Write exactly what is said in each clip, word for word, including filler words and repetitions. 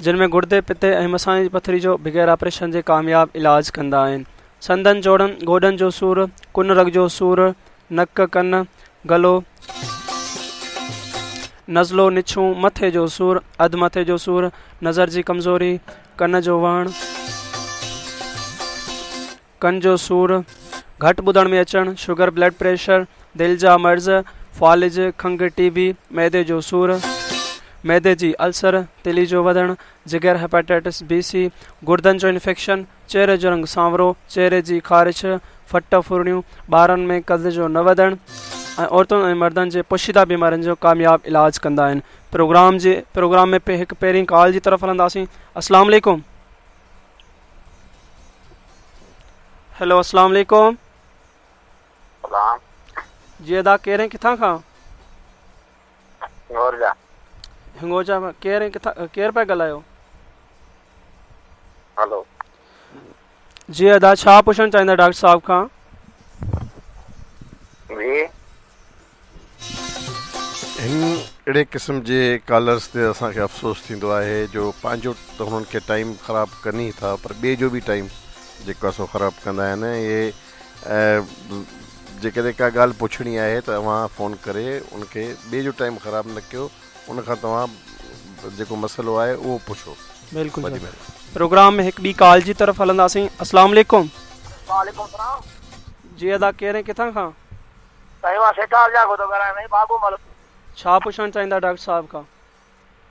जिन में गुर्दे, पित्ते ऐं मसाने जी पथरी जो बग़ैर ऑपरेशन जे कामयाब इलाज कंदा आहिनि। संदन जोड़नि, गोॾनि जो सूर, कुन रग जो सूर, नक, कन, गलो, नज़लो, निछूं, मथे जो सूर, अधु मथे जो सूर, नज़र जी कमज़ोरी, कन जो वहण, कन जो सूर, घटि ॿुधण में अचणु, शुगर, ब्लड प्रेशर, दिलि जा मर्ज़, फ़ालिज, खंघ, टीबी, मैदे जो सूर, मैदे जी अल्सर, तिली जो वधणु, जिगर, हेपेटाइटिस बी सी, गुर्दनि जो इन्फेक्शन, चेहरे जो रंग सांवरो, चेहरे जी ख़ारिश, फट फुरणियूं, ॿारनि में कद जो न वधणु ऐं औरतुनि ऐं मर्दनि जे पोशीदा बीमारियुनि जो कामयाब इलाज कंदा आहिनि। प्रोग्राम जे प्रोग्राम में पे हिकु पहिरीं कॉल जी तरफ़ हलंदासीं। अस्सलाम वालेकुम। हेलो, अस्सलाम वालेकुम। जी अदा, केरु ऐं किथां खां? हिंगोजा। हिंगोजा मां। केरु ऐं किथां, केरु पिया ॻाल्हायो? हेलो। जी अदा, छा पुछणु चाहींदा डॉक्टर साहब खां? जी, हिन अहिड़े क़िस्म जे कॉलर्स ते असांखे अफ़सोस थींदो आहे जो पंहिंजो त हुननि खे टाइम ख़राबु कनि ई था, पर ॿिए जो बि टाइम जेको आहे सो ख़राबु कंदा आहिनि। इहे जेकॾहिं का ॻाल्हि पुछणी आहे त तव्हां फ़ोन करे उनखे ॿिए जो टाइम ख़राबु न कयो, उनखां तव्हां जेको मसइलो आहे उहो पुछो। बिल्कुलु। वॾी महिरबानी। प्रोग्राम में हिकु ॿी कॉल जी तरफ़ हलंदासीं। अस्सलाम वालेकुम। वालेकुम सलाम। जी अदा, केरु ऐं किथां खां? साईं, मां सेठार जागो थो ॻाल्हायां। साईं बाबूमल। छा पुछणु चाहींदा डॉक्टर साहब खां?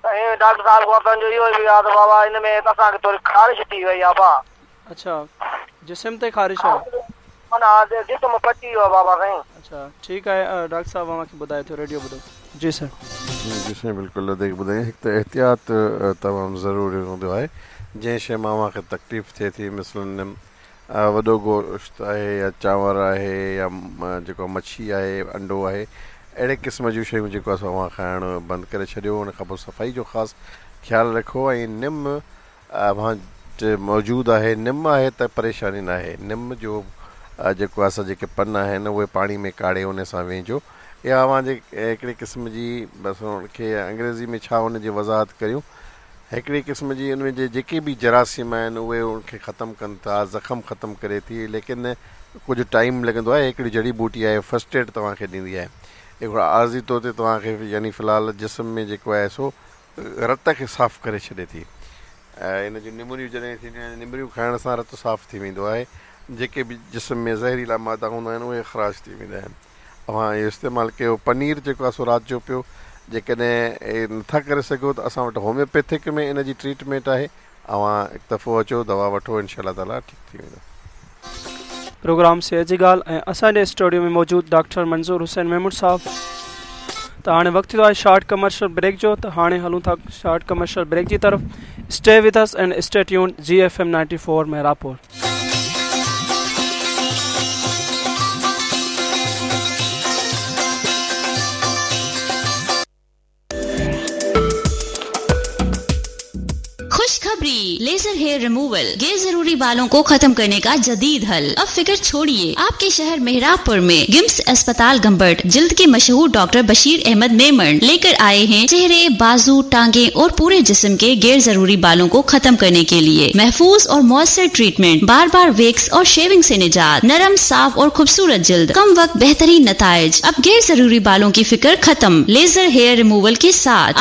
साईं, डॉक्टर साहब खां असांजो इहो बि आहे त बाबा, हिन में त असांखे थोरी ख़ारिश थी वई आहे बा। अच्छा, जिस्म ते ख़ारिश आहे? माना जिस्म पची वियो आहे बाबा साईं। अच्छा, ठीकु आहे, डॉक्टर साहब अव्हांखे ॿुधाए थो, रेडियो ॿुधो। जी सर। जी साईं, बिल्कुलु देख ॿुधाई। हिकु त एहतियात तमामु ज़रूरी हूंदो आहे। जंहिं शइ मां अव्हांखे तकलीफ़ थिए थी, मिसलन वॾो गोश्त आहे या चांवर आहे या जेको मच्छी आहे, अंडो आहे, अहिड़े क़िस्म जूं शयूं जेको आहे सो अव्हां खाइणु बंदि करे छॾियो। हुन खां पोइ सफ़ाई जो ख़ासि ख़्यालु रखो ऐं निम अव्हां वटि मौजूदु आहे, निम आहे त परेशानी न आहे। निम जो जेको आहे सो जेके पन आहिनि उहे पाणी में काढ़े उन सां वेझो, या अव्हांजे हिकिड़े क़िस्म जी, बसि हुनखे अंग्रेज़ी में छा हुनजी वज़ाहत करियूं, हिकिड़ी क़िस्म जी उन में जेके बि जरासीम आहिनि उहे उनखे ख़तमु कनि था, ज़ख़म ख़तमु करे थी, लेकिन कुझु टाइम लॻंदो आहे। हिकिड़ी जड़ी बूटी आहे, फर्स्ट एड तव्हांखे ॾींदी आहे, हिकिड़ो आर्ज़ी तौर ते तव्हांखे यानी फ़िलहालु जिस्म में जेको आहे सो रत खे साफ़ करे छॾे थी। ऐं इन जूं निमरियूं जॾहिं थींदियूं आहिनि, निमरियूं खाइण सां रत साफ़ थी वेंदो आहे, जेके बि जिस्म में ज़हरीला मादा हूंदा आहिनि उहे ख़राज थी वेंदा आहिनि। तव्हां इहो इस्तेमालु कयो। पनीर जेको आहे सो राति जो पियो, जेकॾहिं नथा करे सघो त असां वटि होम्योपैथिक में इन जी ट्रीटमेंट आहे, तव्हां हिकु दफ़ो अचो, दवा वठो, इनशा ताला ठीकु थी वेंदो। प्रोग्राम सेहत जी ॻाल्हि ऐं असांजे स्टूडियो में मौजूदु डॉक्टर मंज़ूर हुसैन महमूद साहब। त हाणे वक़्तु थियो आहे शॉर्ट कमर्शियल ब्रेक जो, त हाणे हलूं था शॉर्ट कमर्शियल ब्रेक जी तरफ़। Stay with us and stay tuned G F M ninety four Mehrabpur. खुशखबरी, लेजर हेयर रिमूवल, गैर जरूरी बालों को खत्म करने का जदीद हल। अब फिक्र छोड़िए, आपके शहर मेहराबपुर में गिम्स अस्पताल गंबट जिल्द के मशहूर डॉक्टर बशीर अहमद मेमन लेकर आए हैं चेहरे, बाजू, टांगे और पूरे जिस्म के गैर जरूरी बालों को खत्म करने के लिए महफूज और मौसर ट्रीटमेंट, बार बार वेक्स और शेविंग से निजात, नरम, साफ और खूबसूरत जिल्द, कम वक्त बेहतरीन नताइज। अब गैर जरूरी बालों की फिक्र खत्म, लेजर हेयर रिमूवल के साथ।